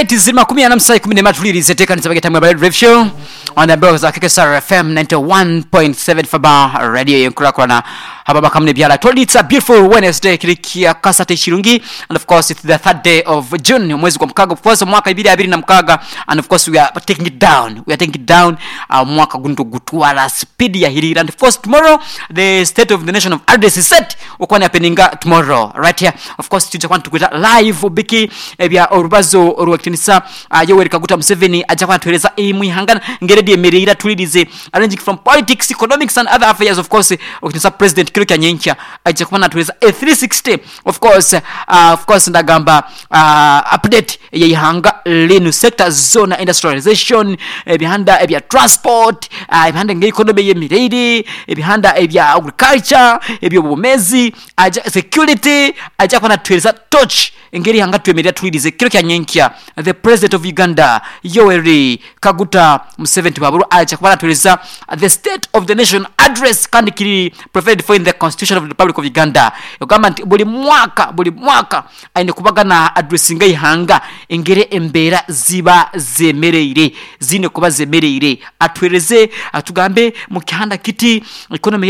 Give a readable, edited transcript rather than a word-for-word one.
Alright, ziri 47 14 tulirize tekanisa bageta mwe Red Show on the bells za KKSR FM 91.7 Faba Radio yenkurakurana ababa kamwe byala toli. It's a beautiful Wednesday, kiri kya kasate kirungi, and of course it's the third day of June, omwezi gwa mukaga, of course omwaka 2026, and of course we are taking it down, we are taking it down. Omwaka guno tugutwala speed yahirira, and of course tomorrow the State of the Nation of address is set okuba ni happeninga tomorrow right here. Of course twija kuba nitukwita live biki ebya orubazo orw'ekitinisa Yoweri Kaguta Museveni aja kuba natuhereza omu ihanga ngeri eryemereire atulirize, ranging from politics, economics and other affairs. Of course okitinisa president kiro kya nyenkya aija kuba natuhereza a 360, of course, of course ndagamba update ey'eihanga linu, sectors zoona, industrialization, ebihanda ebya transport, ebihanda ngeri economy eyemereire, ebihanda ebya agriculture, eby'obwomezi, aja security, aija kuba natuhereza torch engeri eihanga twemerera twirize kiro kya nyenkya. The president of Uganda Yoweri Kaguta Museveni Tibuhaburwa aija kuba natuhereza the State of the Nation Address, kandi kiri provided for in the Constitution of the Republic of Uganda, ekugamba nti buri mwaka buri mwaka aine kubaga na addressinga eihanga engeri embeera ziba zemereire ziine kuba zemereire, atuhereze atugambe mu kihanda kiti economy.